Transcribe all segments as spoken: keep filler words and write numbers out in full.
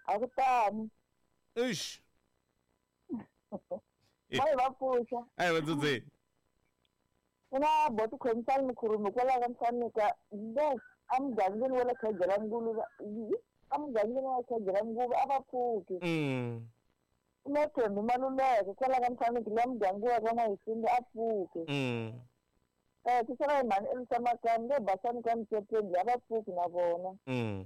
A ku tani. Eish. Va va pfuxa. A hi va dzudzeni. Ku na boti khomisani Mukhurume kwalaho ka Msanika le emugangeni wa le Khegela Nguluve emugangeni wa Khegela Nguva a va pfuki. Mm. Na Thembi Maluleke kwalaho ka Msanika le muganga wa ka N'wayisinga a pfuki. Mm. Eh ku sala hi mhani Elisa Makani le Basani ka Mtepeni a va pfuki na vona. Mm.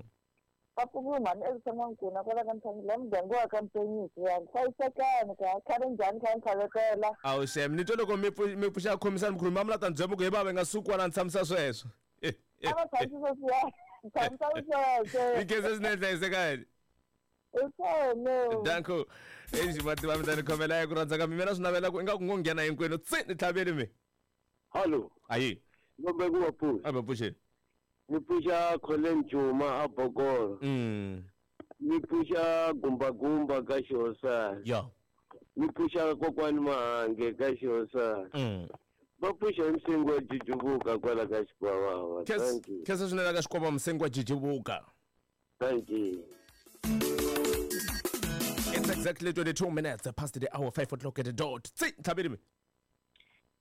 Va pfuki mhani Elisa N'wankuna kwalaho ka Msanika le muganga wa ka Mpenyisi ya hlayisekani ka khale njhani kha ni khavetela. Awu xem ni twe loko mi pfu- mi pfuxa khomisani Mukhurume va mi la ta ni byela ku he bava hi nga suki kwala ni tshamisa sweswo. A va tshamisa sweswiya tshamisa sweswo. Mi khensa swinene hlayisekani. I swona. Danko. Exi mativa mi ta ni khomela ku rhandza ka mi mina swi navela ku ingaku ngo nghena hinkwenu tsi ni tlhaveli mi. Hallo. Ayi. Ngombe ku va pfuxa. A va pfuxeni. Ni pfuxa Colin Juma a Bokolo. Mm. Ni pfuxa Gumba Gumba ka Xihosana. Ya. Ni pfuxa kokwani Mahange ka Xihosana. Mm. Va pfuxa hi Msengi wa Jijivuka kwala ka Xikwavava. Thank you. Khensa swinene ka Xikwavava Msengi wa Jijivuka. Thank you. It's exactly twenty-two minutes past the hour, five o'clock at the dot. Tsi tlhaveli mi.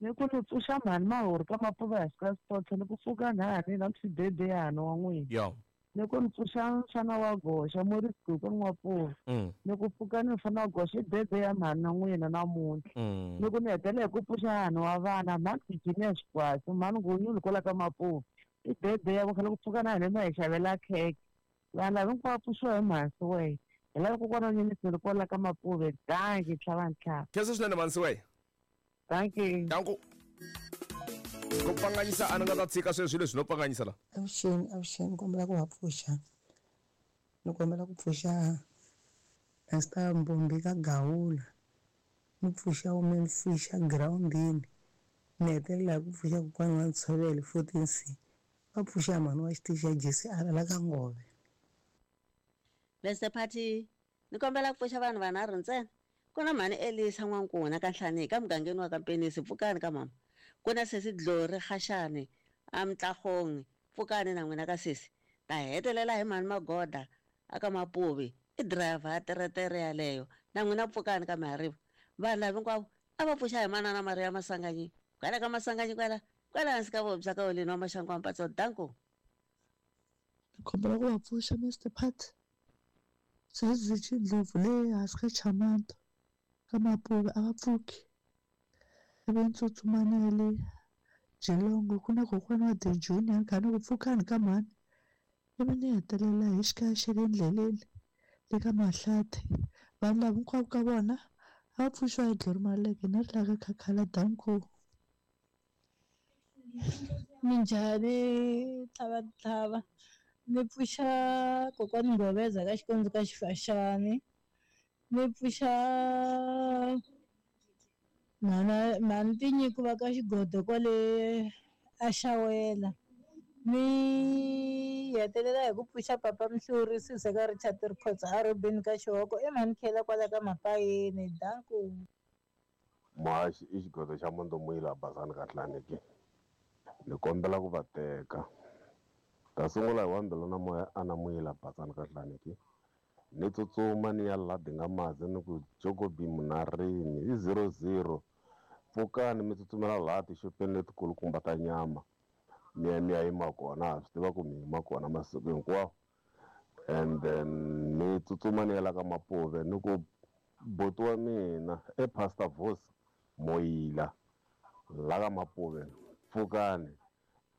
Ni ku ni pfuxa mhani Mahori ka Mapuva hi ka Sipotso ni ku pfuka nhani na msibebeyana wa n'wina. Yo. Ni ku ni pfuxa mfana wa goxa Morris Gugu N'wapuva. Mm. Ni ku pfuka ni mfana wa goxa i bebe ya mhani na n'wina namuntlha. Mm. Ni ku ni hetelela hi ku pfuxa hani wa vana mhani Virginia Xikwasi mhani Ngunyulu kwala ka Mapuva. I bebe ya khale ku pfuka na hina ma hi xavela khekhe. Vanhu lava hinkwavo pfuxiwa hi mhani Siweya. Hi lava kokwana Nyenyiseni kwala ka Mapuve. Dankie tlhava ntlhava. Khensa swinene mhani Siweya. Thank you. Danko. Ku pfanganyisa a ni nga ta tshika sweswi leswi no pfanganyisa la. Avuxeni, avuxeni, kombela ku va pfuxa. Ni kombela ku pfuxa Pastor Mbombi ka Gawula. Ni pfuxa Women Fisher groundini. Ni hetelela hi ku pfuxa kokwani wa Ntshovelo fourteen C. Va pfuxa mhani wa xitichi xa J C R la ka Ngove. Mister Party, ni kombela ku pfuxa vanhu vanharhu ntsena. Ku na mhani Elisa N'wankuna ka Nhlanika mugangeni wa ka Mpenisi pfukani ka mama. Ku na sesi Glory Khashane a Mtlagong pfukani na n'wina ka sesi. Ta hetelela hi mhani Magoda aka Mapuvi i driver ya teretere yaleyo na n'wina pfukani ka Mihariva. Vanhu lava hinkwavo a va pfuxa hi manana Maria Masanganyi. Kwala ka Masanganyi kwala kwala hansi ka vobya ka Olini wa Maxangu wa Mpatso. Danko. Ni kombela ku va pfuxa Mister Pat. Sesi Ndlovu le hansi ka Chamanto ka Mapuve a va pfuki. Ivi ni tsutsuma ni ya le Geelong ku na kokwana wa The Junior kha ni ku pfukani ka mhani. Ivi ni hetelela hi xikaya xa le ndleleni le ka Mahlathi. Vanhu lava hinkwavo ka vona a va pfuxiwa hi Glory Maleke ni ri la ka Khakhala. Danko. Minjhani tlhava tlhava. Ni pfuxa kokwani Ngoveza ka Xikondzi ka Xifaxani. Ni pfuxa mhana mhani Tinyiko va ka Xigodo kwale a Xawela. Ni hetelela hi ku pfuxa papa Mhluri Sise ka Richard Rikhotso a Robin ka Xihoko i mhani Khela kwala ka Mapayeni. Danko. Muhaxi i xigodo xa Mondomuyila Basani ka Hlaneki. Ni kombela ku va teka. Ta sungula hi wa Mbilu na Moya ana Muyila Basani ka Hlaneki. Ni tsutsuma ni ya la Dingamazi ni ku Jogobi Munarini hi zero zero. Pfukani mi tsutsumela laha tixopeni letikulukumba ta nyama. Mi ya mi ya yima kona, ha swi tiva ku mi yima kona masiku hinkwawo. And then ni tsutsuma ni ya la ka Mapuve ni ku buti wa mina e Pastor Vos Moyila la ka Mapuve. Pfukani.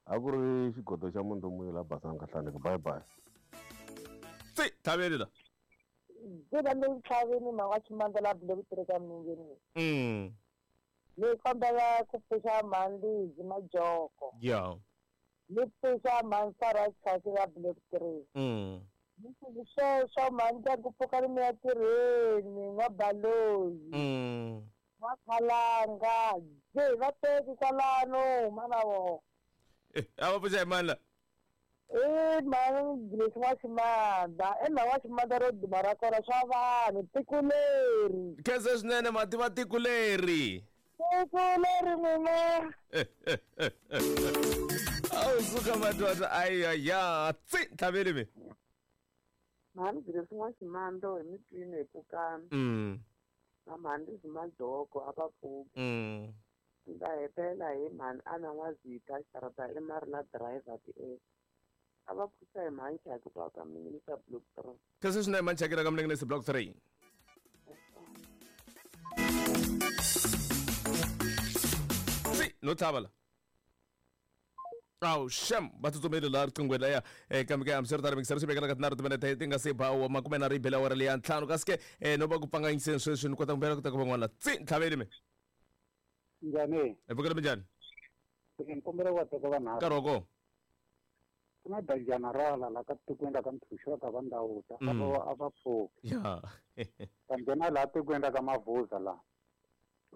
A ku ri xigodo xa Mondomuyila Basani ka Hlaneki. Bye bye. Tsi tlhaveli la. Ndzi ni tlhaveni mhani wa Chimandza la bile ku tirheka milengeni. Mm. Ni kombela ku pfuxa mhani Lizi Majoko. Ya. Ni pfuxa mhani Sarah Chasi la bile ku tirheni. Mm. Ni ku sweswo mhani ndyangu pfuka ni mi ya tirheni n'wa Baloyi. Mm. N'wa Khalanga. Je va teki kwalano mana vona. Eh, a va pfuxa hi mani la? I mhani Grace wa Ximandla. I mhani wa Ximandla ro duma ra kona swa vanhu tiko leri. Khensa swinene mativa tiko leri. Tiko leri n'wina. Awu suka madoda ayaya tsi tlhaveli mi. Mhani Grace N'waximando hi mitwini hi pfukani. Mm. Na mhani Lizzy Majoko a va pfuki. Mm. Ndzi ta hetelela hi mhani Ana N'wazita xarata i Marina driver ti a va pfuxa hi mhani Chaki kwa ka Minginisa block three. Kasi swinene mhani Chaki la ka Minginisa block three. Si no tlhava la. Awu shem va tsutsumele laha riqinghweni laya eh, kambe ke hambiswiritano mixer swi vekela ka tinharhu timinete ti nga se ba wa makume na ribele awara leya ntlhanu kasi ke eh, no va ku pfanganyiseni sweswi ni kota ku mbela ku ta ku van'wana tsi ntlhaveni me. Njhani? Hi pfukile minjhani? Ni kombela ku va teka vanharhu. Nkarhi wa kona. Ku na danjana rala la ka tikweni ra ka Mthuxi ka va Ndawuta a va a va pfuki. Ya. Ta nghena laha tikweni ra ka Mavuza laha.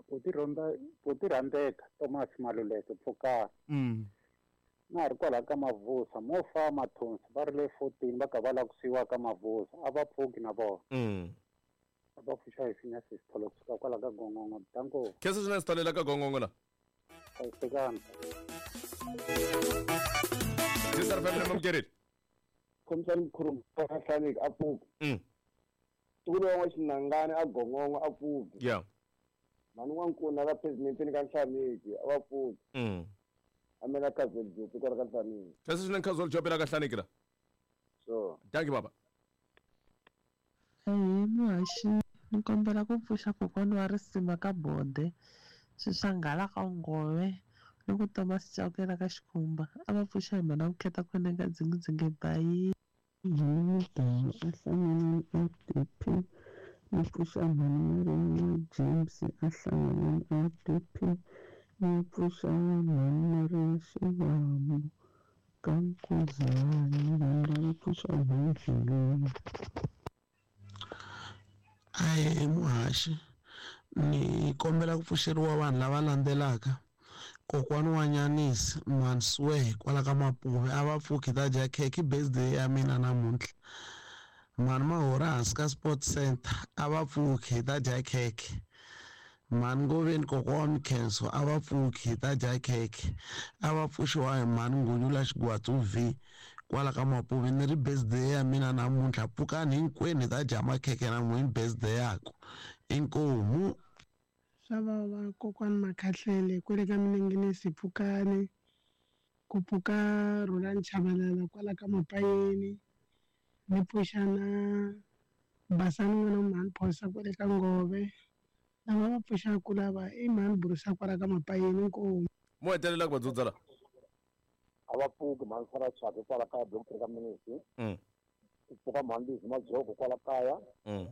Buti Rhonda Buti Rhandeka Thomas Maluleke pfukani. Mm. Na ha ri kwalaha ka Mavuza mo fa Mathonsi va ri le fourteen va ka va lava ku siyiwa ka Mavuza a va pfuki na vona. Mm. A va pfuxa hi Phineas Sithole kusuka kwala ka Gongongo. Danko. Khensa swinene Sithole la ka Gongongo la. Hlayisekani. Sister Family Mamkereli. Khomixani Mkhulu Hlaneki a pfuki. Mm. Ntukulu wa N'waxinangani a Gongongo a pfuki. Yeah. Mhani N'wankuna ka President ka Hlaneki a va pfuki. Mm. Amela Casual Job kwala ka Hlaneki. Khensa swinene Casual Job la ka Hlaneki la. Sure. Thank you baba. Ehe muhaxi ni kombela ku pfuxa kokwana wa risima ka Bode Swixanghala ka Ngove ni ku Thomas Chauke ka Xikhumba a va pfuxa hi mhana Vukheta khoneni ka dzingidzingi bayi. Mudala a hlanganeni R D P ni pfuxa mhani Maria James a hlanganeni R D P ni pfuxa mhani Maria Xivambu ka Nkuzani vanhu va pfuxa mhani Dleleni. Ahee muhaxi ni kombela ku pfuxeriwa vanhu lava landzelaka kokwani wa Nyanisi Manswe kwala ka Mapuve a va pfuki ta dya khekhe birthday ya mina namuntlha mhani Mahora hansi ka Sport Center a va pfuki hi ta dya khekhe mhani Ngoveni kokwa wa Mikhenso a va pfuki hi ta dya khekhe a va pfuxiwa hi mhani Ngunyula Xigwatsu V kwala ka Mapuve ni ri birthday ya mina namuntlha pfukani hinkwenu hi ta dya makhekhe namuntlha birthday yaku inkomu. Swa vava kokwani Makhahlele kwale ka Minengenesi pfukani ku pfuka Rhulani Chabalala kwala ka Mapayeni ni pfuxa na Basani n'wana mhani Phosa kwale ka Ngove lava va pfuxaku lava i mhani Burusa kwala ka Mapayeni inkomu. Mo hetelela ku va dzudza la. A va pfuki mhani Sarah Chaka kwala kaya block three ka Minisi. Mm. Ku pfuka mhani Lizzy Majoko kwala kaya. Mm.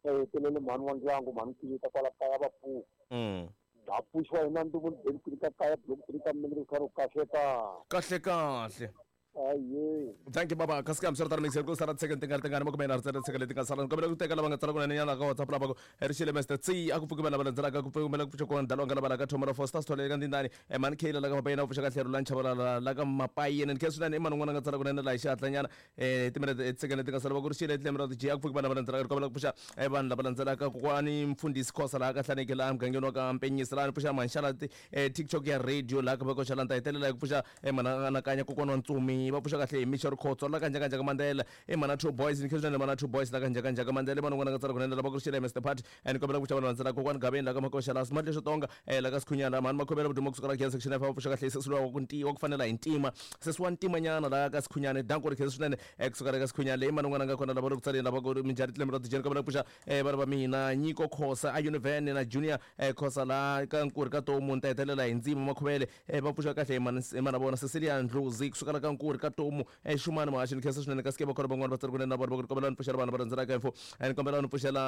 Ta hetelele mhani wa ndyangu mhani Kiyita kwala kaya va pfuka. Mm. Ha pfuxiwa hi na Ndumo Beni ka kaya block three ka Minisi ka ro kahle ka. Kahle kahle. Aye. Thank you baba. Kasi ka msirta mixer ku sala second tinga tinga mo kumena rtsela second tinga sala kombela ku teka lava nga tsala kunene nyana ka WhatsApp lava ku rixile Mister C a ku pfuki vana va landzelaka ku pfuki ku pfuxa ku ndalo nga lava ka Thomora Foster Sithole ka Ndindani e man Kayla la ka Mapayeni ku pfuxa ka Tlhelo la Nchavalala la ka Mapayeni ni khensa swinene i mani un'wana nga tsala kunene la hi xihatla nyana eh timinete second tinga sala va ku rixile Tlemero G a ku pfuki vana va landzelaka kombela ku pfuxa e vanhu lava landzelaka kokwani Mfundhisi Khosa la ka Hlaneki la mugangeni wa ka Mpenyisi la ni pfuxa Manxala TikTok ya radio la ka va koxa la ni ta hetelela hi ku pfuxa e mana anakanya kokwana wa Ntsumi va pfuxa kahle hi Michel Khotso la ka njhaka njhaka Mandela i mana two boys ni khensa mana two boys la ka njhaka njhaka Mandela vanhu n'wana nga tsala kunene lava ku rixile Mister Party and kombela ku pfuxa vanhu va landzelaka kokwani Gaveni la ka Makoxa la Smart leswo tonga eh la ka Sikhunyana mhani Makhomela Vudumo kusuka la Kenya section F va pfuxa kahle sesi lowa ku ntiwa ku fanela hi ntima sesi wa ntima nyana la ka Sikhunyana danko ri khensa swinene eh kusuka la ka Sikhunyana leyi mani n'wana nga kona lava ri ku tsaleni lava ku minjhani Tlemero Dijeni kombela ku pfuxa eh vana va mina Nyiko Khosa a Univen na Junior eh Khosa la ka Nkuri ka Tomu ni ta hetelela hi Ndzima Makhuvele eh va pfuxa kahle hi mani hi mana vona Cecilia Ndlozi kusuka la ka Nkuri ka Tomu eh Xumani Muhaxi ni khensa swinene kasi ke va kona van'wana va tsari kunene na vona va ku kombela ni pfuxela vanhu va landzelaka info ni kombela ni pfuxela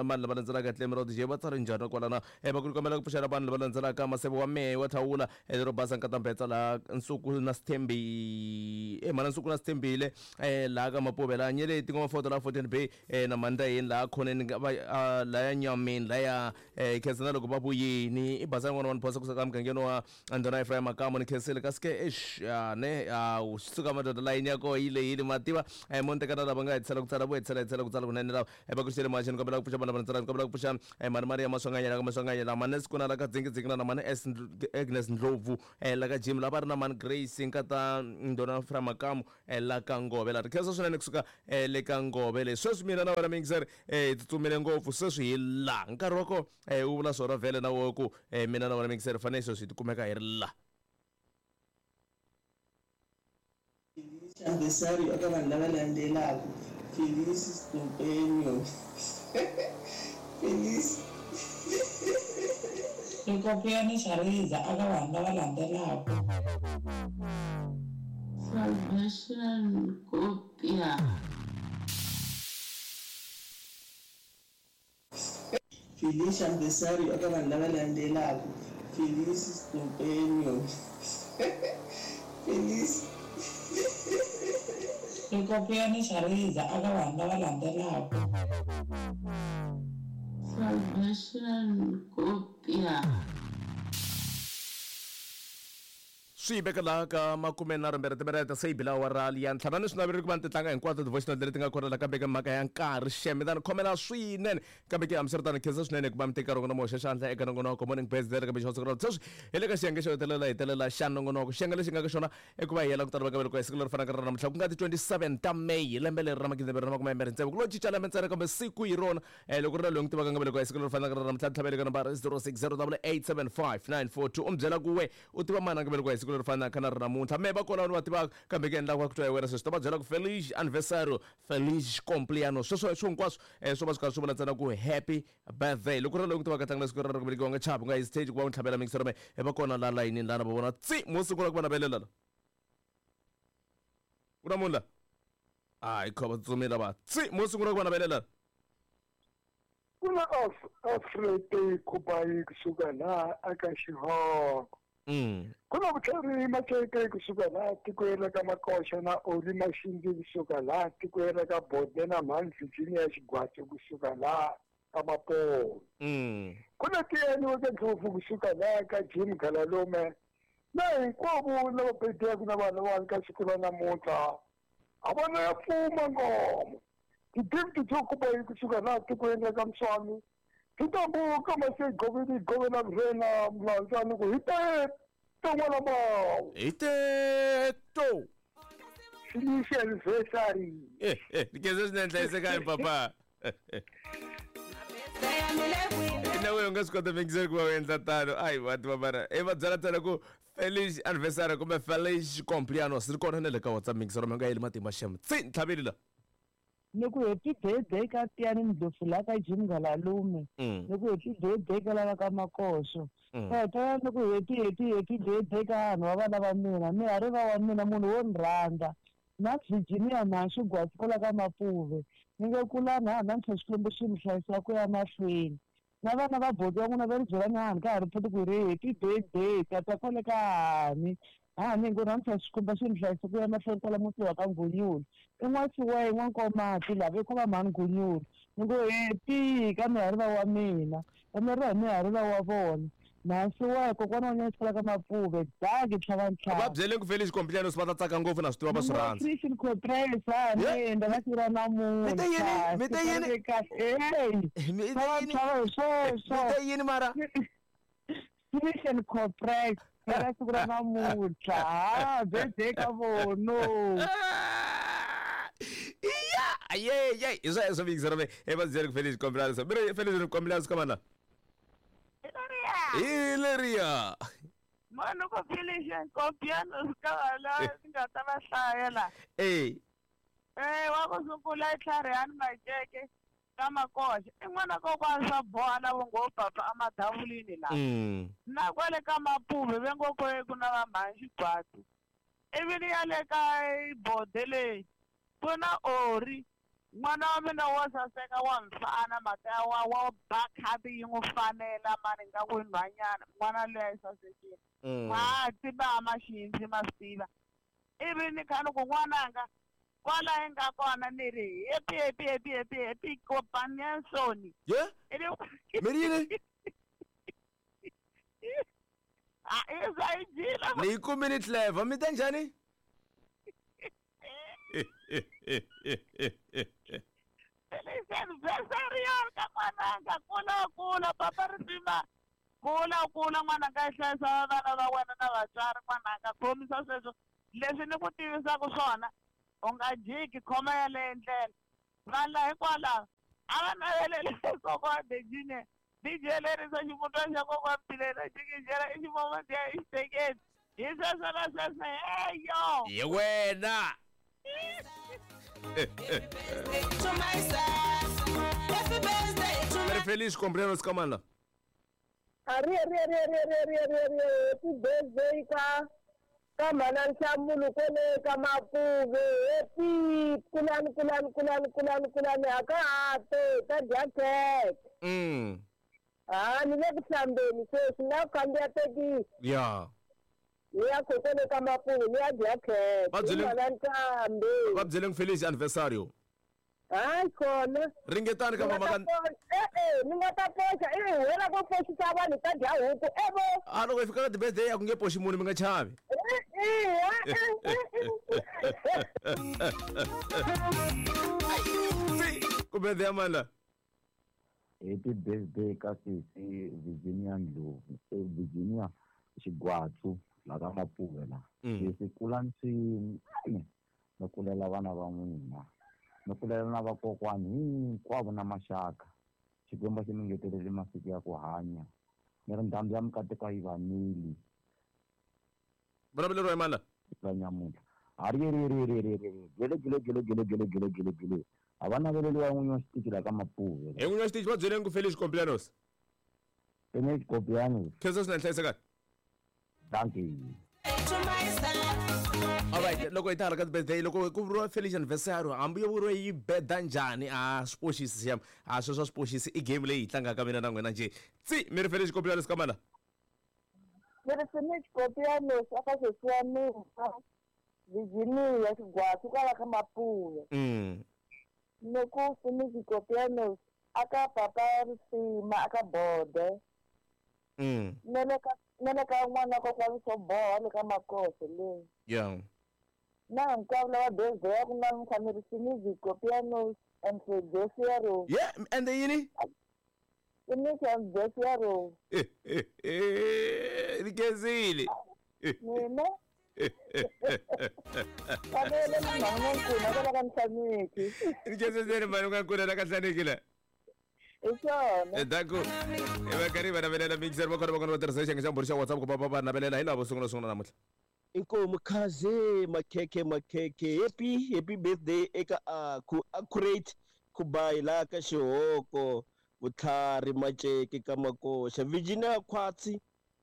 vanhu lava landzelaka Tlemero D J va tsari njhani kwalana eh va ku kombela ku pfuxela vanhu lava landzelaka Maseve wa Mehe wa Thawula eh lero basa Nkatambetsa la Nsuku na Sithembi eh mana Nsuku na Sithembile eh la ka Mapuve la Nyeleti ngoma foto la fourteen B eh na Mandayeni la khoneni va la ya Nyameni la ya eh khensa na loko va vuyini i basa n'wana wa Phosa kusuka mugangeni wa Andona Ephraim Makamo ni khensile kasi ke eish ne Hawu swi suka madoda layini ya koho yi lehile ma tiva um mo ni tekana lava nga hetisela ku tsala vo hetisela hetisela ku tsala kunene lava va ku xele maxeni kombela ku pfuxa vana va tsala kombela ku pfuxa mani Maria Maswanganyela ka Maswanganyela mani Sikuna la ka Dzingi na mani S Agnes Ndlovu la ka Jim lava ri na mani Grace nkata Ndona fra Makamu la ka Ngove la ri khensa swinene kusuka le ka Ngove le sweswi mina na wena mixer hi tsutsumile ngopfu sweswi hi la nkarhi wa ko wu vula swona vhele na wo ku mina na wena mixer fanele sweswi hi tikumeka hi ri la Anniversário eka vanhu lava landzelaka Felice Companio Felice Rikopiyani Shariza eka vanhu lava landzelaka Salvation Kopia Felice Anniversário eka vanhu lava landzelaka Felice Companio Felice Rikopiyani Shariza eka vanhu lava landzelaka Salvation Kopia swi veka laha ka makume nharhu mbirhi timinete se yi bila awara ya ntlhanu ni swi naverile ku va ni ti tlanga hinkwato ti-voice note leti nga kona la kambe ka mhaka ya nkarhi xeme tani khomela swinene kambe ke hambiswiritano khensa swinene ku va mi teka rona mo hoxa xandla eka nongonoko morning best leri kambe xo sungula sweswi hi le ka xiyenge xo hetelela hetelela xa nongonoko xiyenge lexi nga ka xona i ku va hi yela ku tala va ka siku leri fanaka ra namuntlha ku nga ti twenty-seven ta May lembe leri ra magidi mbirhi na makume mbirhi tsevu ku lo cinca lembe ntsena kambe siku hi rona loko ri na loyi n'wi tivaka nga velekiwa hi siku leri fanaka ra namuntlha tlhavele ka nambara zero six zero double eight seven five nine four two u mi byela ku we u tiva mani a nga velekiwa hi siku leri fanaka na ri namuntlha me va kona vanhu va tivaka kambe ke endla ku twa hi wena sweswi ta va byela ku feliz anniversario feliz cumpleaños sweswo swo hinkwaswo swo va swi karhi swi vula ntsena ku happy birthday loko ri loyi ku tivaka tlanga siku ra ku velekiwa nga chavi u nga hesitate ku va u tlhavela mixer me va kona la layinini lana va vona tsi mo sungula ku va navelela la ku na munhu la hayi kho va tsutsumile va tsi mo sungula ku va navelela ku na Alfred Khubayi kusuka laha aka Xihoko Mm. ku na vutlhari Maceke kusuka laha tikweni ra ka Makoxa na Oli Maxindzi kusuka laha tikweni ra ka Bode na Mhani Virginia Xigwatsi kusuka laha ka Mapolo Mm. ku na Tiyani wa ka Ndlovu kusuka laha ka Jim Galalume na hinkwavo lava bediyaka na vanhu lavawani ka siku ra namuntlha a vona ya pfuma ngoma ti-gift to Khubayi kusuka laha tikweni ra ka Mswani titambuka masegoveni govela mrena mlandzani ku hi te ton'wana mawu hi teto Felice anniversary eh eh nikeze swinene hlayisekani papa na wewe u nga swi kota mixer ku va u endla tano ayi va tiva mara i va byela ntsena ku felice anniversary kumbe felice cumpleaños ri kona na le ka WhatsApp mixer mi nga yeli matimba xem tsi ntlhaveli la ni ku happy birthday ka Tiyani Ndlovu la ka Jim Galalume ni ku happy birthday ka lava ka Makoxo heta ni ku happy happy happy birthday ka vanhu va vana va mina mi ha ri va wa mina munhu wo ni rhandza na Virginia Mhaxi Gwatsi kwala ka Mapuve ni nge kulani ha namuntlha Xikwembu xi mi hlayisa ku ya mahlweni na vana va boti wa n'wina va ri byela ni hani ka ha ri pfuti ku ri happy birthday tata kwale ka hani hani ngo namuntlha Xikwembu xi mi hlayisa ku ya mahlweni kwala muti wa ka Ngunyulu i n'wasiwayi n'wankomati lava i ko va mhani Ngunyulu ni ngo happy ka mihariva wa mina va hi mihariva wa vona mhasiwayi kokwana wa nyana ka Mapuve daki tlhava ntlhanu va byele ku Felice cumpleaños va ta tsaka ngopfu na swi tiva va swi rhandza Christian Copresa ni nda va sira namuntlha Mi te yini? Mi te yini? Kahle tlhava ntlhava hi sweswo Mi te yini mara Christian Copresa ka siku ra namuntlha ha birthday ka vono iya ye ye hi sweswo mixer me i va byele ku Felice cumpleaños mi ri Felice cumpleaños ka mana hi leriya mani ku Felice cumpleaños ka vala ni nga ta va hlaya la eh eh wa ku sungula i Tlharihani Maceke ka Makoxa i n'wana kokwana swa boha na vongo papa emadavulini laha na kwale ka Mapuve ve ngo ko ku na va Mhani Xigwatsi ivi ni ya le ka Bode leyi ku na Ori n'wana wa mina wo saseka wa mfana mhaka ya wa wa ba khabi yi n'wi fanela mani nga ku nhwanyana n'wana luya yi sasekile ma tiva maxindzi ma swi tiva ivi ni kha ni ku n'wananga kwala yi nga kona ni ri happy happy happy happy happy kopaniansoni ye mi ri yini a i swa yi dyile ni yi kumile clever mi te njhani Feliz aniversario ka n'wananga kula kula papa Risima kula kula n'wananga i hlayisa vana va wena na vatswari n'wananga khomisa sweswo leswi ni ku tivisaka swona u nga jiki khoma yaleyo ndlela vanhu la hikwalaho a va navelele kokwana Virginia D J lerisa ximutwana xa kokwana Mpilela xikijela i ximomondiya i xitekeni hi sweswo na sweswo heyo ye wena Feliz cumpleaños kamana Ari ari ari ari ari ari ari ari happy birthday ka ka mana Nhlamulo kwele ka Mapuve happy kulani kulani kulani kulani kulani aka te ta dya cake mm ah ni le ku hlambeni sweswi na khandziya tekisi ya ni ya kwele ka Mapuve ni ya dya cake Va byele- mana Nkambe va byeleni Feliz aniversario hayi khona ringetani ka mama ka eh eh ni nga ta poxa i wena ku poxisa vanhu ta dya huku evo a loko hi fika ka ti-birthday a ku nge poxi munhu mi nga chavi ku birthday ya mani la Happy birthday ka sesi Virginia Ndlovu eh, Virginia Xigwatsu la ka Mapuve la sesi kulani swinene mi kulela vana va n'wina mi kulela na vakokwani hinkwavo na maxaka Xikwembu xi mi ngetelele masiku ya ku hanya ni ri ndhambi ya mikateko yi vanile vulavuleriwa hi mani la la nyamuntlha hariyeriyeriyeriyeriyeri gele gele gele gele gele gele gele gele a va naveleliwa n'winyi wa xitichi la ka Mapuve hi n'winyi wa xitichi va byeleni ku Feliz cumpleaños Feliz cumpleaños khensa swinene hlayisekani thank you alright loko hi ta hala ka ti-birthday loko ku vuriwa Feliz anniversario hambi yo vuriwa yi beda njhani a swi poxisi siam a sweswo a swi poxisi i game leyi hi tlangaka mina na n'wina njhe tsi mi ri Feliz cumpleaños ka mana ni ri Feliz cumpleaños aka sesi wa mina Virginia Xigwatsu kwala ka Mapuve mm ni ku Feliz cumpleaños aka papa Risima aka Bode mm na le ka na le ka n'wana kokwani swo boha le ka Makoso le yeah na hinkwavo lava birthday ku namuntlha ni ri Feliz cumpleaños and anniversario yeah and yini Feliz anniversario ni khensile mina fanele mhani n'wankuna kwala ka Nhlaneki ni khensile mhani n'wankuna la ka Nhlaneki la hi swona danku hi va karhi va navelela mixer va kona va kona va tirhisa xiyenge xa mbhuri xa WhatsApp ku va va va navelela hi lavo sungula sungula namuntlha Inkomu khaze makhekhe makhekhe happy happy birthday eka aku accurate kubai la ka xihoko vutlhari Maceke ka Makoxa Virginia Khwatsi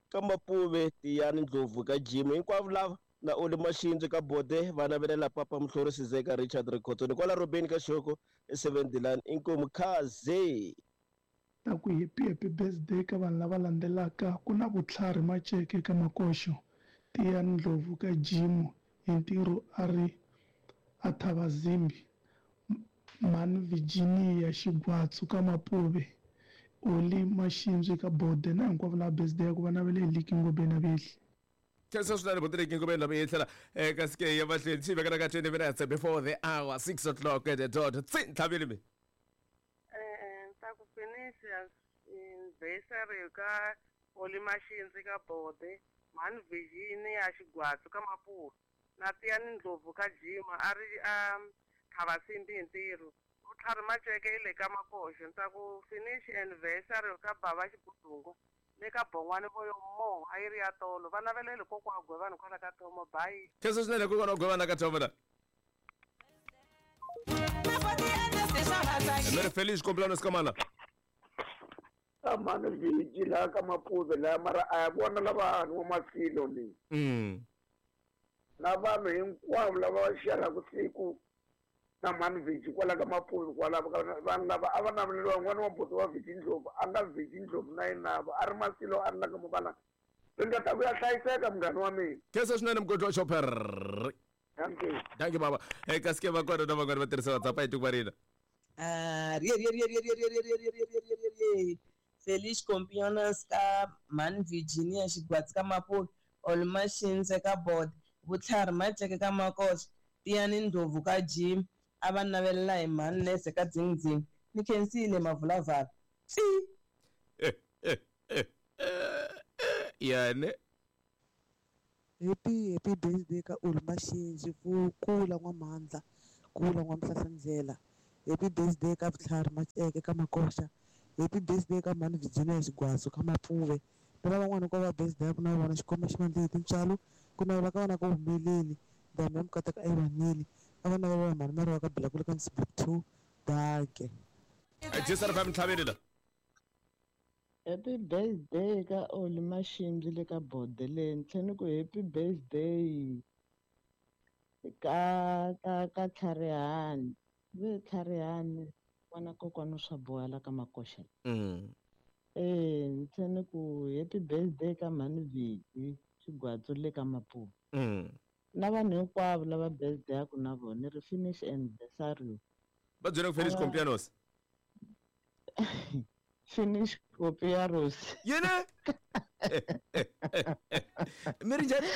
ka Mapuve Tiyani Ndlovu ka Jim hinkwavo lava na Oli Mashinzi ka Bode va navelela papa Mhlori Sizeka Richard Rikhotoni kwala Robeni ka Xihoko e seven Dilan inkomu khaze ta ku happy happy birthday ka vanhu lava landzelaka ku na Vutlhari Maceke ka Makoxo Tiyani Ndlovu ka Jim hi ntirho a ri a Thabazimbi Mhani Virginia Xigwatsu ka Mapuve Oli Mashinzi ka Bode na hinkwavo lava birthday ku va navele hi Liki Ngobeni Vehli khensa swinene buti Ngobeni lava yi tlhela eka sike ya mahlweni xi vekela ka twenty minutes before the hour six o'clock at the dot tsi ntlhavile mi Eh, ta ku finish anniversary ka Oli Mashinzi ka Bode Mhani Virginia Xigwatsu ka Mapuve na Tiyani Ndlovu ka Jima a ri a Thabazimbi hi ntirho Vutlhari Maceke i le ka Makoxo ni ta ku finish anniversary ka Bava Xibudungu le ka Bon'wani voyo mo a yi ri ya tolo va navelele kokwa Gwevani kwala ka Thomo bye khensa swinene kokwana Gwevani ka Thomo la mi ri Feliz cumpleaños ka mana ka mhani Viji laha ka Mapuve laha mara a ya vona lava vanhu va masilo ni mm na vanhu hinkwavo lava va xerhaka siku na mhani Viji kwala ka Mapuve kwalavo vanhu lava a va naveleriwa n'wana wa buti wa Viji Ndlovu a nga Viji Ndlovu na yena a ri masilo a ri la ka Mabalanga ringeta ku ya hlayiseka munghana wa mina khensa swinene mugodi wa chopper thank you thank you baba eka sike va kona na van'wana va tirhisa WhatsApp a hi tiko va rina Ah, rie rie rie rie rie rie rie rie rie rie rie rie rie Feliz cumpleaños ka Mhani Virginia Xigwatsi ka Mapuve Oli Mashinzi ka Bode Vutlhari Maceke ka Makoxa Tiyani Ndlovu ka Jim a va navelela hi mhani Nese ka Dzingdzing ni khensile mavulavala tsi yane Happy happy birthday ka Uli Mashinji ku kula n'wamandla kula n'wamhlahlandlela. Happy birthday ka Vutlhari Maceke ka Makoxa. Happy birthday ka Mhani Virginia Xigwazo ka Mapuve. Na lavan'wana ko va birthday ku na vona xikomba xi mandla hi tintswalo ku navela ka vona ku humeleli ndhambi ya mukateka a yi vanile a va navelela mhani Mariwa ka Bilakula ka Msibuk two danke. Jesa ri fa la. Happy birthday ka Oli Mashinji le ka Bodeleni tlhela ni ku happy birthday ka ka ka Tlharihani ve Tlharihani n'wana kokwana swa boha la ka Makoxa Mm. eh ni tlhela ni ku happy birthday ka mhani Viki Xigwatsu le ka Mapuve Mm. na vanhu hinkwavo lava birthday-aku na vona ni ri finish anniversary Va byele ku finish Ava- compianos. finish copiaros Yini? Mi ri njhani?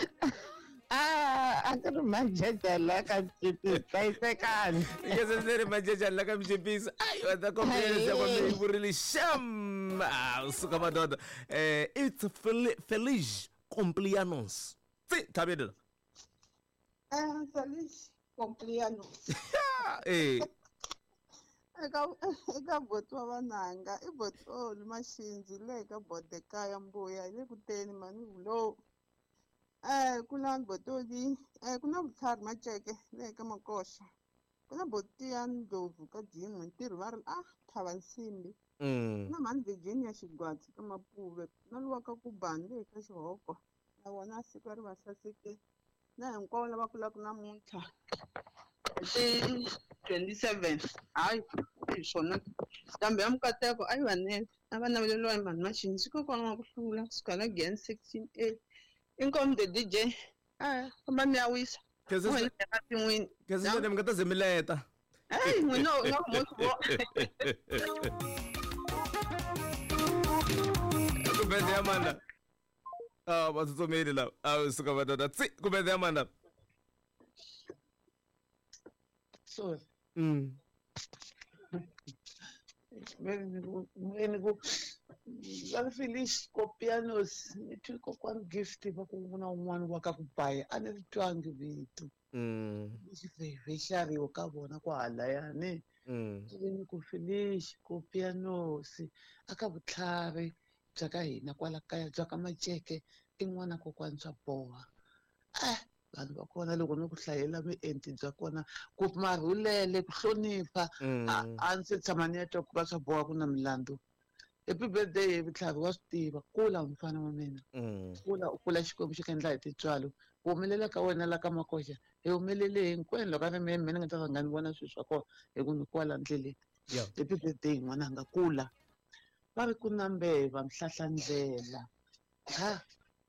Ah, a ku ri majaja la ka Mchipisi hlayisekani Ngeze ri majaja la ka Mchipisi. Ai wa ta compianos ya kwami yi vurile sham. Ah, suka madoda. Eh it's Fel- Feliz Complianos. Tsi tlhaveli la. Eh, Feliz cumpleaños. Eh Eka eka boti wa vananga i boti Oli Mashinji le ka Bodekaya Mbuya hi le ku teni mani vulo. Eh ku na botoli eh ku na Vutlhari Maceke le ka Makoxa. Ku na boti ya Ndlovu ka Jim ntirho va ri ah Thava Nsimbi. Mm. Na mhani Virginia Xigwatsi ka Mapuve na luwa ka Kubani le ka Xihoko. Na vona siku ri va saseke na hinkwavo lava kulaka namuntlha ti twenty-seven hayi hi swona kambe ya mukateko a yi vanele a va naveleriwa hi mhani Mashinji kokwana wa ku hlula kusuka la Giyani sixteen A inkomu the D J a famba mi ya wisa Khensa N'wina ematin'wini Khensa swinene mi nga ta ze mi leta. Hey, n'wina u nga ku mo Ku birthday ya mani la? Ah, va tsutsumile lava. Ah, suka madoda. Tsi ku birthday ya mani la? Sorry. Mm. Ni ku va Feliz Copianos ni twi kokwani Gift va ku na un'wana wa ka ku baya a ni ri twangi vito Mm. xivhexariwa ka vona kwahalayani Mm. ni ku Feliz Copianos aka vutlhari bya ka hina kwala kaya bya ka Maceke i n'wana kokwani swa boha eh vanhu va kona loko ni ku hlayela mienti bya kona ku marhulele ku hlonipha a Mm. a ndzi se tshama ni ya twa ku va swa boha ku na milandzu happy birthday hi vutlhari wa swi tiva kula mfana wa mina Mm. kula u kula xikwembu xi ka endla hi tintswalo ku humelela ka wena la ka Makoxa hi humelele hinkwenu loko a ri mehe mehe ni nga ta rhanga ni vona swilo swa kona hi ku ni kwala ndleleni Yeah. happy birthday n'wananga kula va ri ku na mbeva mhlahlandlela ha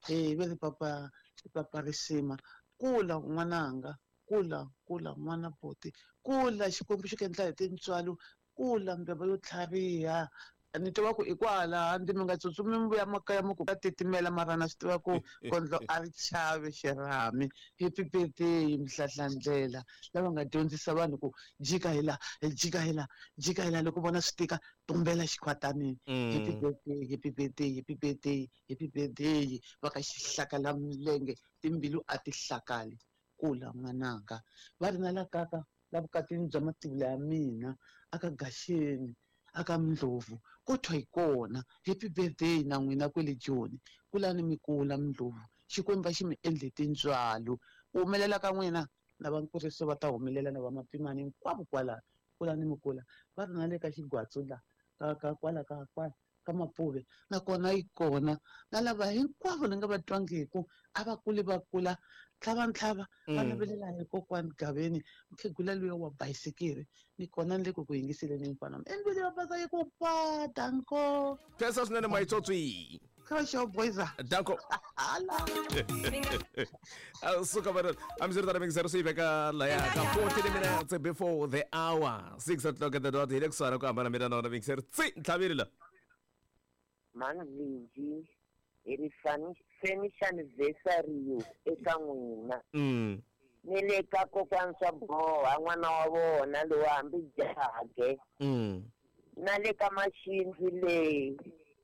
he ve ri papa papa risima kula n'wananga kula kula n'wana boti kula xikwembu xi ku endla hi tintswalo kula mbeva yo tlhariha ni tiva ku i kwala ndzi mi nga tsutsumi mi vuya makaya mi ku ka titimela mara na swi tiva ku kondlo a ri chavi xirhami happy birthday mhlahlandlela lava nga dyondzisa vanhu ku jika hi la jika hi la jika hi la loko vona swi tika tumbela xikhwatanini happy Mm. birthday happy birthday happy birthday happy birthday va ka xihlakala milenge timbilu a ti hlakali kula n'wananga va ri na la kaka la vukatini bya mativula ya mina aka Gaxeni aka Ndlovu ko thwa hi kona happy birthday na n'wina kwele Joni kulani mi kula Ndlovu xikwembu a xi mi endle tintswalo ku humelela ka n'wina na va nkuriso va ta humelela na va mapimani hinkwavo kwalano kulani mi kula va ri na le ka Xigwatsu la ka ka kwala ka kwala ka Mapuve nakona yi kona na lava hinkwavo ni nga va twangiku a va kuli va kula ntlhavantlhava va Mm. navelela hi kokwani Gaveni mukhegula luya wa bayisikiri ni kona ni le ku ku yingiseleni mfana endlwini ya basa yi ku pa danko Khensa swinene Maitsotsi. Kosho boyza Danko. Hala. Ah, suka madoda. I'm sure that I'm excited to see veka laya ka forty minutes before the hour. six o'clock at the dot. Hi le kusuhani ku hambana mina na wona Mixer. Tsi ntlhaveli la. Mhani Viki hi ri fani- finish anniversary eka n'wina Mm. Ni le ka kokwana swa boha n'wana wa vona lowu hambi jahage. Mm. Na le ka Maxindzi leyi.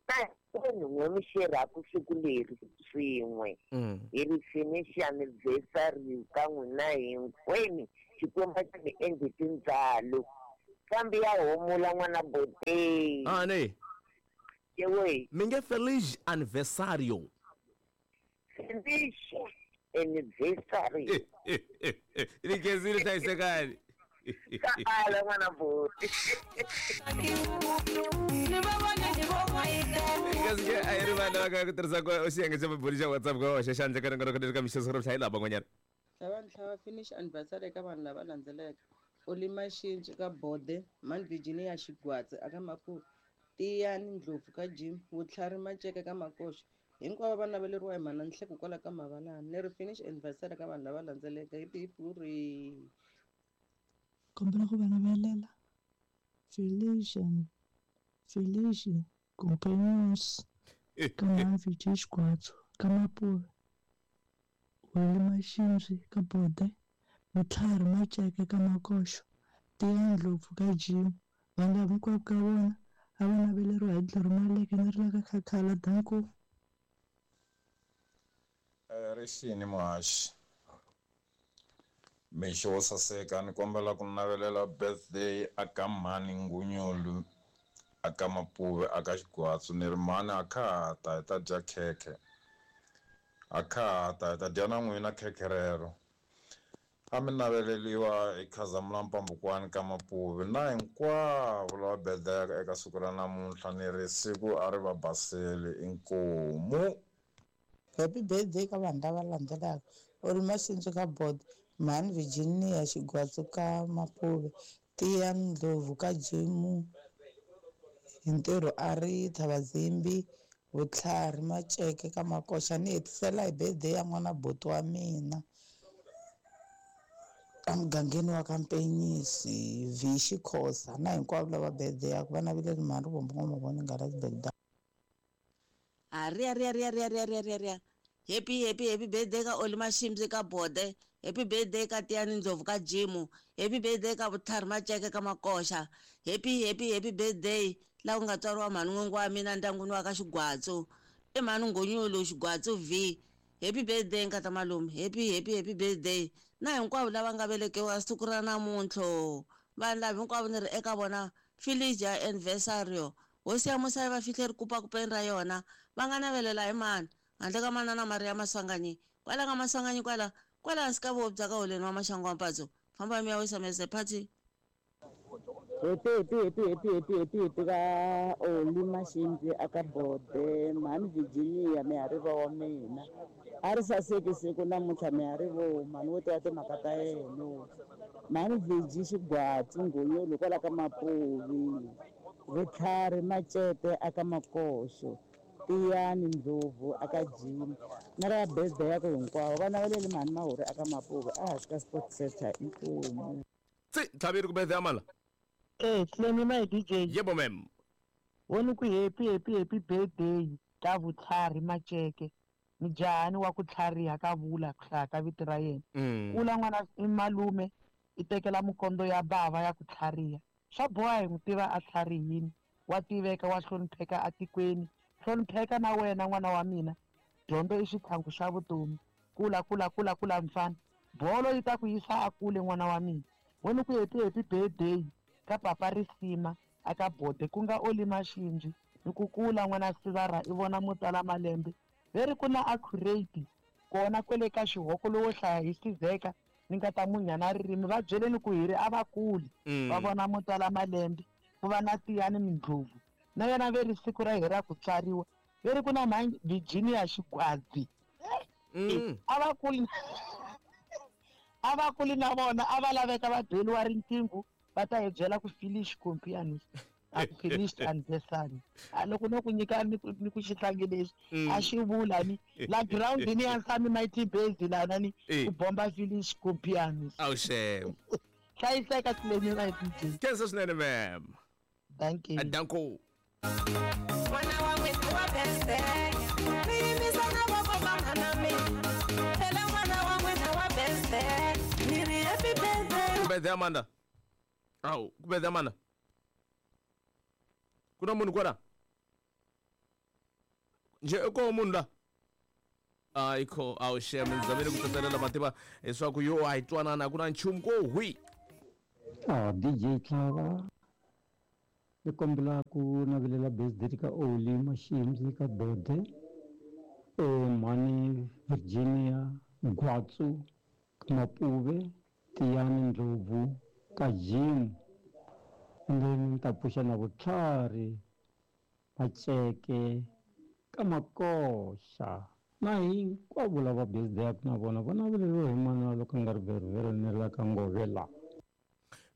Na hinkwenu n'we mi xerhaku siku leri swin'we. Mm. Hi ri finish anniversary ka n'wina hinkwenu. Xikwembu xa mi endli tindzalo. Kambe ya humula n'wana Botei. Ah ne. Yewe. Mi nge feliz anniversario. Feliz anniversary. Ni khensile hlayisekani. Ka ala n'wana Boti. Kasi ke a hi ri vanhu lava ka ku tirhisa ku xiyenge xa mabulu xa WhatsApp ku hoxa xandla ka rin'wana ka mixo siku ra hlayi laha van'wanyana. Tlhava ntlhava finish anniversary eka vanhu lava landzelaka. Oli Maxinci ka Bode, Mani Virginia Xigwatsi aka Mapuve, Tiyani Ndlovu ka Jim, Vutlhari Maceke ka Makoxa. Hinkwavo va naveleriwa hi mhana Nhleko kwala ka Mavalani. Ni ri finish anniversary ka vanhu lava landzelaka. Hi hipuri. Kombela ku va navelela Felician Felici Companions ka Mavhiji Xigwatso ka Mapuve, Weli Maxindzi ka Bode, Vutlhari Maceke ka Makoxo, Tiyani Ndlovu ka Jim. Vanhu lava hinkwavo ka vona a va naveleriwa hi Dloro Maleke ni ri la ka Khakhala. Danko. Rixini muhaxi. Mixo wo saseka ni kombela ku navelela birthday aka mhani Ngunyulu aka Mapuve aka Xigwatsu ni ri mhani a kha ha ta hi ta dya khekhe. A kha ha ta hi ta dya na n'wina khekhe rero. A mi naveleliwa hi Khazamula Mpambukwani ka Mapuve na hinkwavo lava birthday eka siku ra namuntlha ni ri siku a ri va baseli inkomu. Happy birthday ka vanhu lava landzelaka. Oli Maxindzi ka Bode, Mhani Virginia Xigwatsu ka Mapuve, Tiyani Ndlovu ka Jimu hi ntirho a ri Thabazimbi, Vutlhari Maceke ka Makoxa. Ni hetisela hi birthday ya n'wana buti wa mina ka mugangeni wa ka Mpenyisi, V Xikhosa na hinkwavo lava birthday yaku va naveleli mhani Rivombo N'wamavoni nghala Bagdad. A ria ria ria ria ria ria ria ria. Happy happy happy birthday ka Oli Maximzi ka Bode. Happy birthday ka Tiyani Ndlovu ka Jimu. Happy birthday ka Vutlhari Maceke ka Makoxa. Happy happy happy birthday la ku nga tswariwa mhani n'wingi wa mina ndyangwini wa ka Xigwatsu. I mhani Ngunyulu Xigwatsu V. Happy birthday nkata malume. Happy happy happy birthday na hinkwavo lava nga velekiwa siku ra namuntlha. Vanhu lava hinkwavo ni ri eka vona Felicia anniversario. Hosi ya Musa yi va fihle rikupakupeni ra yona. Va nga navelela hi mani handle ka manana Maria Maswanganyi. Kwala ka Maswanganyi kwala kwala hansi ka voho bya ka holeni wa Maxangu wa Mpatso. Famba mi ya wisa mese party. Happy happy happy happy happy happy happy ka Oli Maxindzi aka Bode, Mhani Virginia mihariva wa mina. A ri saseki siku namuntlha miharivo mhani wo tiva timhaka ta yena. Mhani Virgie Xigwatsu Ngunyulu kwala ka Mapuvi, Vutlhari Macete aka Makoxo, Tiyani Ndlovu aka Jim. Na ra birthday ya ku hinkwavo va naveleli mhani Mahuri aka Mapuve a hansi ka Sports Center inkomu. Tsi tlhaveri ku birthday ya mala. Eh, Tlemi my D J. Yebo ma'am. Woni ku happy happy happy birthday ka Vutlhari Maceke. Mijahani wa ku tlhariha ka vula ku hlaya ka vito ra yena. Kula n'wana i malume i tekela mikondo ya bava ya ku tlhariha. Swa boha hi n'wi tiva a tlharihini, wa tiveka wa hlonipheka atikweni. Hlonipheka na wena n'wana wa mina. Dyondzo i xitlhangu xa vutomi. Kula kula kula kula mfana. Bolo yi ta ku yisa a kule n'wana wa mina. Wena ku happy happy birthday ka papa Risima aka Bode ku nga Oli Maxindzi. Ni ku kula n'wana Sivara i vona mutala malembe. Veri ku na accurate kona kwele ka xihoko lowo hlaya hi Sizeka ni nga ta munyana ririmi va byeleni ku hi ri a va kuli va vona mutala malembe ku va na Tiyani Mindlovu na yena veri siku ra hi ra ku tswariwa veri ku na mhani Virginia Xigwadzi. A va kuli a va kuli na vona a va laveka va beliwa riqingho va ta hi byela ku finish compianus a ku finished anniversary. A loko no ku nyika ni ku ni ku xihlangi lexi a xi vula ni la ground ni ya Nsami Mighty Base lana ni ku bomba finish compianus. Awu xem. Hlayiseka Tlemi my D J. Khensa swinene ma'am. Thank you. Danko. N'wana wa n'wina wa birthday. Mi yimisa na voko va mhana mina. Phela n'wana wa n'wina wa birthday. birthday Amanda. Awu, ku birthday Amanda. Ku na munhu kwala? Nje ko munhu la? Ayikho, awu shem, ngizamile ku tsetselela mativa leswaku yo a hi twanana ku na nchumu ko hwi. Ah, D J Tlhava, ni kombela ku navelela birthday ka Oli Mashimzi ka Bode, eh Mani Virginia Gwatsu Mapuve, Tiyani Ndlovu ka Jim, and then ta pfuxa na Vutlhari Macheke ka Makoxa na hinkwavo lava birthday na vona va naveleriwa hi mana loko nga ri veriveri ni la ka Ngovela.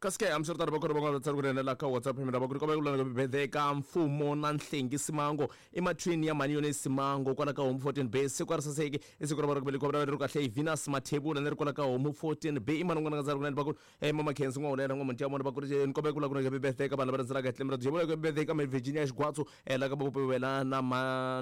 Kasi ke hambiswiritano va kona van'wana va tsari ku rhenela ka WhatsApp mina va ku ri kombela ku lana birthday ka Mfumo na Nhlengi Simango i mathwini ya mani yone Simango kwala ka Home fourteen B siku ra saseki i siku ra va ri kombela ri kahle hi Venus Mathebula ni ri kwala ka Home fourteen B i mani n'wana nga tsari ku rhenela va ku eh mama Khensi n'wa hulela n'wa Montiya mona va ku ri ni kombela ku lana ku birthday ka vanhu lava rhandzelaka hi tlhelo ra Jebula ku birthday ka Virginia Xigwatsu eh la ka Bopewela na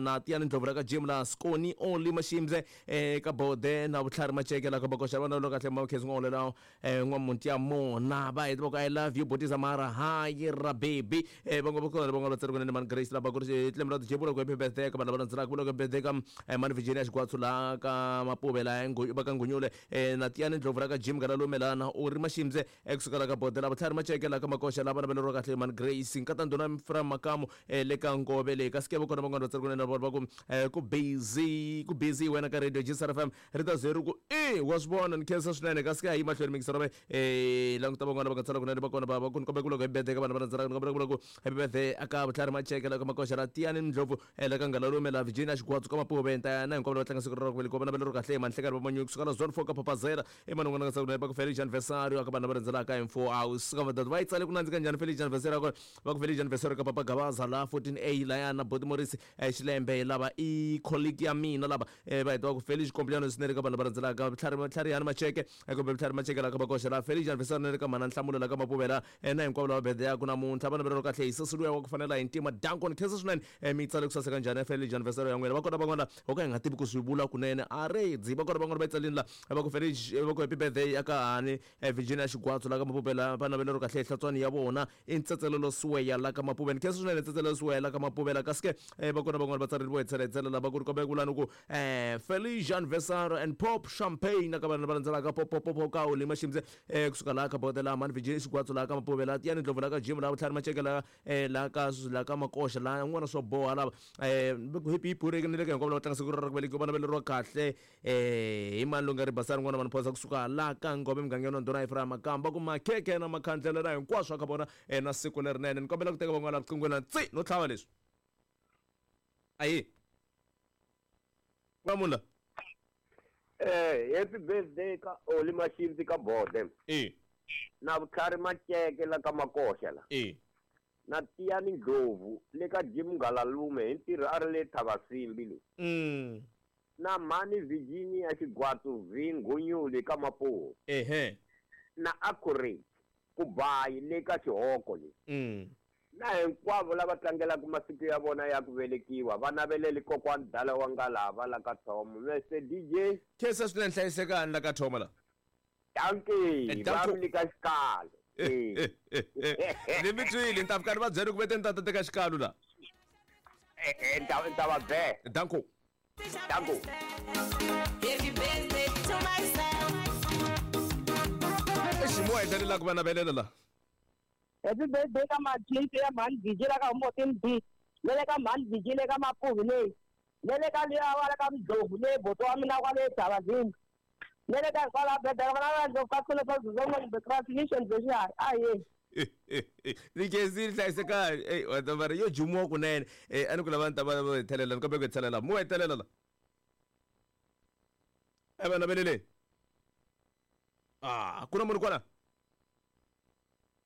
na Tiyani Ndlovu la ka Jim la Skoni Only Mashimze eh ka Bode na Vutlhari Macheke la ka Bakoxa vana lo kahle mama Khensi n'wa hulela eh n'wa Montiya mona ba I love you Botisa Mara hi ra baby eh bango ba kona bango ba tsari kunene man Grace la ba ku ri tlhelo ra Jebula ku birthday ka vanhu lava rhandzelaka ku birthday ka man Virginia Xigwatsu la ka Mapuve la ba ka Ngunyule eh na Tiyani Ndlovu la ka Jim Galalumelana u ri Mashimze ekusuka la ka Bode la Vutlhari Macheke la ka Makoxa la vana va kahle man Grace nkatandona from Makamu le ka Ngove le ka Sikebo kona bango ba tsari kunene va ku ku busy ku busy wena ka Radio G S R F M ri ta zero ku eh wa swi vona ni khensa swinene ka Sike hi mahlweni mingisero va eh languta van'wana va tsala kunene va kona va ku kombela ku loko hi birthday ka vanhu va rhandzelaka ni kombela ku loko happy birthday aka Vutlhari Macheke la ka Makoxa la Tiyani Ndlovu la ka Ngalalume la Virginia Xigwatsu ka Mapuve nta na hinkwavo lava tlanga siku ra ku velekiwa va naveleriwa kahle manhlekani va Manyuku kusuka la zone four ka Papazela i mani n'wana nga tsala kunene va ku Felice anniversary aka vanhu lava rhandzelaka hi four hours ka va va yi tsale ku nandzika njhani Felice anniversary ka va ku Felice anniversary ka Papa Gabaza la fourteen A la ya na Boti Morris Xilembe lava i colleague ya mina lava va heta va ku Felice cumpleaños ni ri ka vanhu lava rhandzelaka Vutlhari Vutlhari Macheke kumbe Vutlhari Macheke la ka Makoxa la Felice anniversary ni ri ka mana Nhlamulo la ka Mapuvela na hinkwavo lava birthday ya ku namuntlha va naveleriwa kahle hi sesi luya wa ku fanela hi ntima Duncan khensa swinene mi tsale ku saseka njhani Felice anniversary ya n'wina va kona van'wana ho ka hi nga tivi ku swi vula kunene a redzi va kona van'wana va yi tsalini la va ku Felice va ku happy birthday ya ka hani Virginia Xigwatsu la ka Mapuvela va naveleriwa kahle hi hlatswani ya vona i ntsetselelo Siweya la ka Mapuve ni khensa swinene ntsetselelo Siweya la ka Mapuvela kasi ke va kona van'wana va tsarile vo hetselela lava ku ri kombela ku lani ku Felice anniversary and pop champagne ka vanhu lava landzelaka pop pop pop ka Oli Mashimze kusuka la ka Bode la mani Virginia Xigwatsu la ka Mapuvela Tiyani Ndlovu la ka Jim la Vutlhari Macheke la la ka la ka Makoxa la n'wana swo boha lava eh happy pureke ni le ka hinkwavo lava tlanga siku ra ku velekiwa va naveleriwa kahle eh hi mani loyi nga ri basani n'wana vanhu phosa kusuka la ka Ngove mugangeni wa Ndhuna Ephraim Makamba ku makhekhe na makhandlela na hinkwaswo ka vona na siku lerinene ni kombela ku teka van'wana riqingweni tsi no tlhava leswi ayi wa munhu la eh happy birthday ka Oli Mashimzi ka Bode eh na Vutlhari Macheke la ka Makoxa la eh na Tiyani Ndlovu le ka Jim Galalume hi ntirho a ri le Thavasimbi le mm na Mani Virginia Xigwatsu V Ngunyule ka Mapuve ehe na Accurate Kubayi le ka Xihoko le mm na hinkwavo lava tlangelaka masiku ya vona ya ku velekiwa va naveleli kokwani dala wa nga lava la ka Thomo Mister D J khensa swinene hlayisekani la ka Thomo la dankie va mi nyika xikalo ni mi twile ni ta fika ni va byela ku vete ni ta teka xikalo la eh ta ta va be danko danko Happy birthday to myself ximo endlela ku va navelela la Happy birthday ka Machinte ya Mani Vijila ka fourteen B le ka Mani Vijila ka Mapuve le le ka liya wala ka Mdlovu le boto wa mina kwale Thabazini le ka kwala birthday ka Ndlovu ka khona pa zoma the transmission version aye ni kezi hlayiseka eh wa ta yo jumiwa kunene eh a ni ku lava ni ta va hetelela ni kombela ku hetelela mu hetelela la eh va navelele ah ku na munhu kwala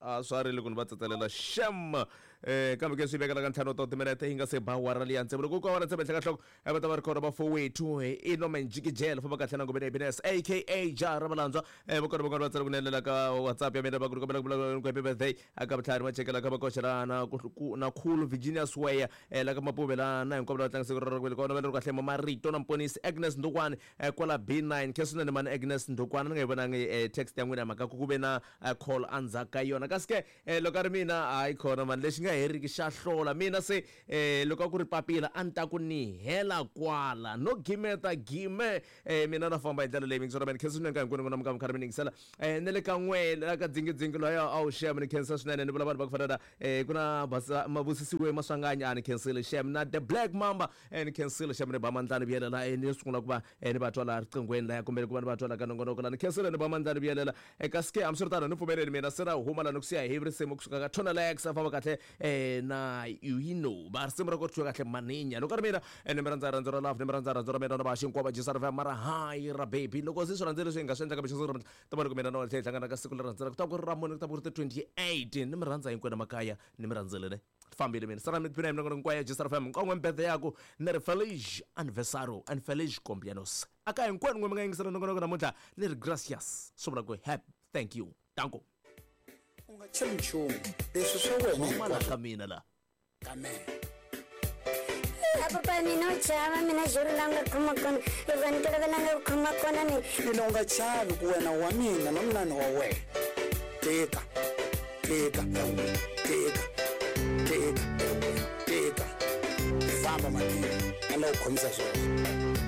a swa rile ku ni va tsetselela shem eh kambe ke swi vekela ka ntlhanu wa timinete yi nga se ba awara liya ntsevu loko ku awara ntsevu henhla ka nhloko va ta va ri kona va fowethu i Nomenjikijela famba kahle na ngobeni happiness aka Jara Malandzwa eh vokona vokona va tsala ku nelela ka WhatsApp ya mina va ku kombela ku ku happy birthday aka Vutlhari Macheke la ka Makoxa na na Khulu Virginia Sweya la ka Mapuve la na hinkwavo lava tlangisa siku ra ku velekiwa va ri kahle Marito na Mponisi Agnes Ndukwane kwala B nine khe swinene mani Agnes Ndukwane ni nga yi vonangi text ya n'wina mhaka ku ku ve na call endzhaku ka yona kasi ke loko a ri mina hayi khona mani lexi nga heriki xa hlola mina se loko a ku ri papila a ni ta ku ni hela kwala no gimeta gime mina na famba hi ndlela leyi mingisora mani khe swinene ka hinkwenu n'wina mi ka mi karhi mi yingisela na le ka n'we la ka dzingidzingi loyo a wu xem ni khensa swinene ni vula vanhu va ku fana na ku na Mabusisiwe Maswanganya a ni khensile xem na The Black Mamba ni khensile xem ni ba mandlani vuyelela ni sungula ku va ni va twa laha riqinghweni laya kumbe ku va ni va twa la ka nongonoko la ni khensile ni ba mandlani vuyelela kasi ke hambiswiritano ni pfumeleli mina se ra huma la ni ku siya hi risimu kusuka ka Tonalex a famba kahle na you va risimu ra ku thyiwa kahle maninya loko ri mina ni mi rhandza rhandzu ra love ni mi rhandza rhandzu ra mina na va hinkwavo va Jisa Riva mara hayi ra baby loko se swi rhandze leswi hi nga swi endlaka mixo siku ta va loko mina na wena hi hlangana ka siku leri rhandzelaka ku ta ku ri ra mune ku ta ku ri ti twenty-eight ni mi rhandza hinkwenu makaya ni mi rhandzile ne fambile mina sara mi tiphina hi minongonoko hinkwayo ya Jisa Riva nkon'we mbete yaku ni ri feliz aniversario and feliz cumpleaños aka hinkwenu n'we mi nga yingisela nongonoko namuntlha ni ri gracias swi vula ku happy thank you danko u nga chavi nchumu leswi swa wena hinkwaswo ka mina la kamela Papa mina u chava mina juru la nga khoma kona loko ni tolovela nga ku khoma kona ni mina u nga chavi ku wena wa mina na mina ni wa wena tika tika tika tika tika famba madini a la ku khomisa swona.